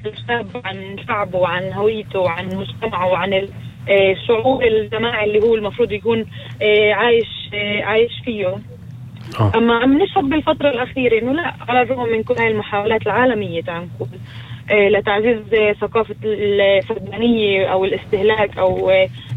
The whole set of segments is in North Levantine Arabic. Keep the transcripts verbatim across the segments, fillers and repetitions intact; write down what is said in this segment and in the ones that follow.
الشاب عن شعبه وعن هويته وعن مجتمعه وعن الشعور الجماعي اللي هو المفروض يكون عايش عايش فيه. أما عم نشهد بالفترة الأخيرة إنه لا، على الرغم من كل هاي المحاولات العالمية تعال نقول لتعزيز ثقافة الفردانية أو الاستهلاك أو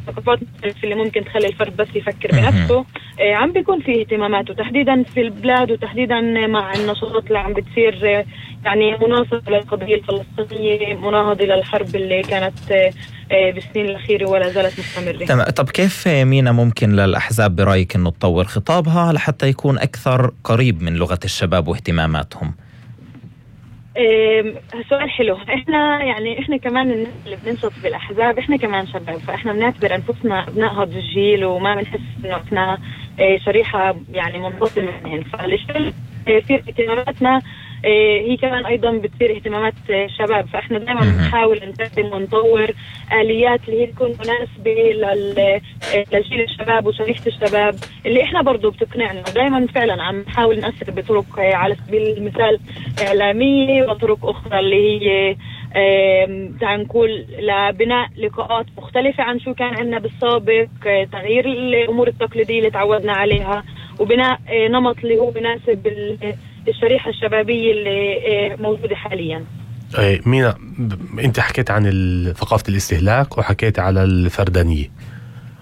ثقافات اللي ممكن تخلي الفرد بس يفكر بنفسه، عم بيكون في اهتمامات، وتحديدا في البلاد وتحديدا مع النشاطات اللي عم بتصير يعني مناصرة للقضية الفلسطينية، مناهضة للحرب اللي كانت بالسنين الأخيرة ولا زالت مستمرة. طب كيف مينا ممكن للأحزاب برأيك إنه تطور خطابها لحتى يكون أكثر قريب من لغة الشباب واهتماماتهم؟ سؤال حلو. احنا يعني احنا كمان الناس اللي بننشط بالاحزاب احنا كمان شباب، فاحنا بنعتبر انفسنا ابناء هذا الجيل وما بنحس انه احنا شريحه يعني منفصله منهم، فالشيء في اهتماماتنا هي كمان ايضا بتصير اهتمامات شباب، فاحنا دائما بنحاول نقدم ونطور اليات اللي هي تكون مناسبه لجيل الشباب وشريحه الشباب اللي احنا برضو بتقنعنا. دائما فعلا عم نحاول نأثر بطرق على سبيل المثال اعلاميه وطرق اخرى اللي هي تعال نقول لبناء لقاءات مختلفه عن شو كان عندنا بالسابق، تغيير الامور التقليديه اللي تعودنا عليها وبناء نمط اللي هو مناسب الشريحة الشبابية اللي موجودة حاليا. مينا، انت حكيت عن ثقافة الاستهلاك وحكيت على الفردانية،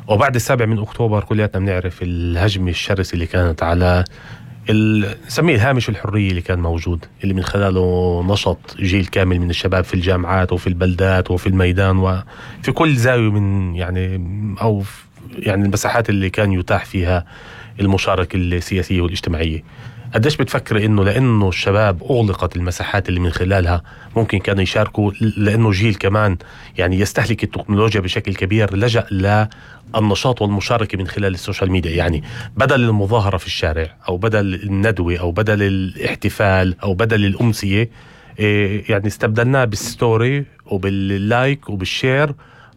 وبعد السابع من أكتوبر كلياتنا بنعرف الهجمة الشرسة اللي كانت على نسميه الهامش الحرية اللي كان موجود، اللي من خلاله نشط جيل كامل من الشباب في الجامعات وفي البلدات وفي الميدان وفي كل زاوية من يعني أو يعني المساحات اللي كان يتاح فيها المشاركة السياسية والاجتماعية. قديش بتفكر إنه لأنه الشباب أغلقت المساحات اللي من خلالها ممكن كانوا يشاركوا، لأنه جيل كمان يعني يستهلك التكنولوجيا بشكل كبير، لجأ للنشاط والمشاركة من خلال السوشيال ميديا، يعني بدل المظاهرة في الشارع أو بدل الندوة أو بدل الاحتفال أو بدل الأمسية، يعني استبدلناه بالستوري وباللايك وبالشير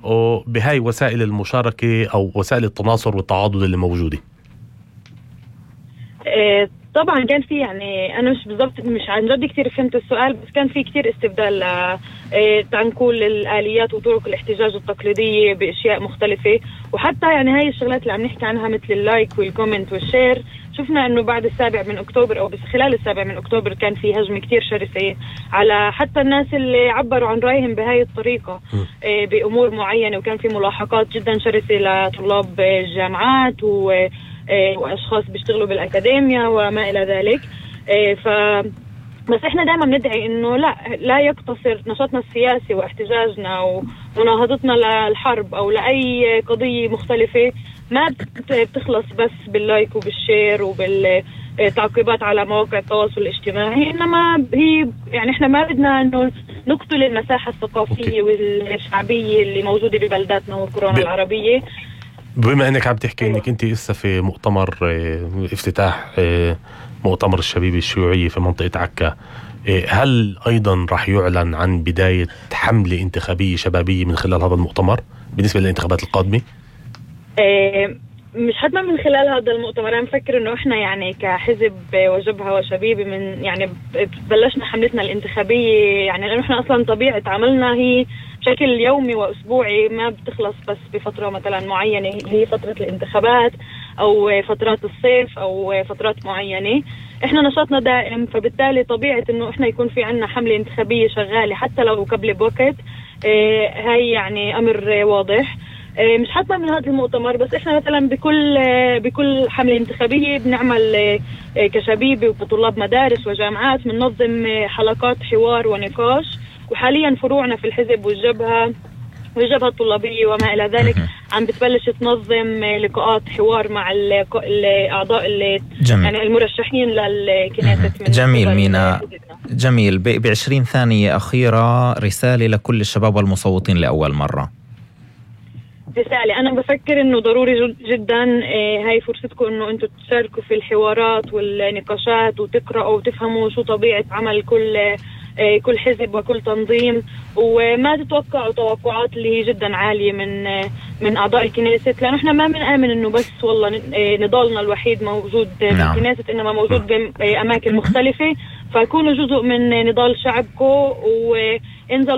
وبهاي وسائل المشاركة أو وسائل التناصر والتعاضد اللي موجودة. طبعا كان في يعني انا مش بالضبط مش عن جد كثير فهمت السؤال، بس كان في كثير استبدال تعال نقول الاليات وطرق الاحتجاج التقليديه باشياء مختلفه، وحتى يعني هاي الشغلات اللي عم نحكي عنها مثل اللايك والكومنت والشير، شفنا انه بعد السابع من اكتوبر او بس خلال السابع من اكتوبر كان في هجمه كثير شرسه على حتى الناس اللي عبروا عن رايهم بهاي الطريقه بامور معينه، وكان في ملاحقات جدا شرسه لطلاب الجامعات و وأشخاص بيشتغلوا بالأكاديميا وما إلى ذلك. ف بس إحنا دائما ندعي إنه لا لا يقتصر نشاطنا السياسي واحتجاجنا ومناهضتنا للحرب أو لأي قضية مختلفة ما بتخلص بس باللايك وبالشير وبالتعقيبات على مواقع التواصل الاجتماعي، إنما هي يعني إحنا ما بدنا إنه نقتل المساحة الثقافية والشعبية اللي موجودة ببلداتنا والقرى العربية. بما انك عم تحكي انك انت لسه في مؤتمر افتتاح مؤتمر الشبيبة الشيوعية في منطقة عكا، هل ايضا راح يعلن عن بداية حملة انتخابية شبابية من خلال هذا المؤتمر بالنسبة للانتخابات القادمة؟ مش حتما من خلال هذا المؤتمر. انا مفكر انه احنا يعني كحزب وجبهة وشبيبة من يعني بلشنا حملتنا الانتخابية، يعني لانه احنا اصلا طبيعة عملنا هي بشكل يومي واسبوعي ما بتخلص بس بفترة مثلا معينة، هي فترة الانتخابات او فترات الصيف او فترات معينة. احنا نشاطنا دائم، فبالتالي طبيعة انه احنا يكون في عنا حملة انتخابية شغالة حتى لو قبل بوقت، اه هاي يعني امر واضح. مش حتما من هذا المؤتمر بس، احنا مثلا بكل بكل حملة انتخابية بنعمل كشبيبة وطلاب مدارس وجامعات بننظم حلقات حوار ونقاش، وحاليا فروعنا في الحزب والجبهة والجبهة الطلابية وما إلى ذلك عم بتبلش تنظم لقاءات حوار مع الأعضاء اللي يعني المرشحين للكنيسة. جميل مينا، جميل. بعشرين ثانية أخيرة رسالة لكل الشباب والمصوتين لأول مرة. رسالة أنا بفكر إنه ضروري جدا هاي فرصتكم إنه أنتوا تشاركوا في الحوارات والنقاشات وتقرأوا وتفهموا شو طبيعة عمل كل كل حزب وكل تنظيم، وما تتوقعوا توقعات اللي هي جدا عالية من من أعضاء الكنيسة، لأنه إحنا ما بنآمن إنه بس والله نضالنا الوحيد موجود بالكنيسة، إنما موجود بأماكن مختلفة، فكونوا جزء من نضال شعبكم وانزلوا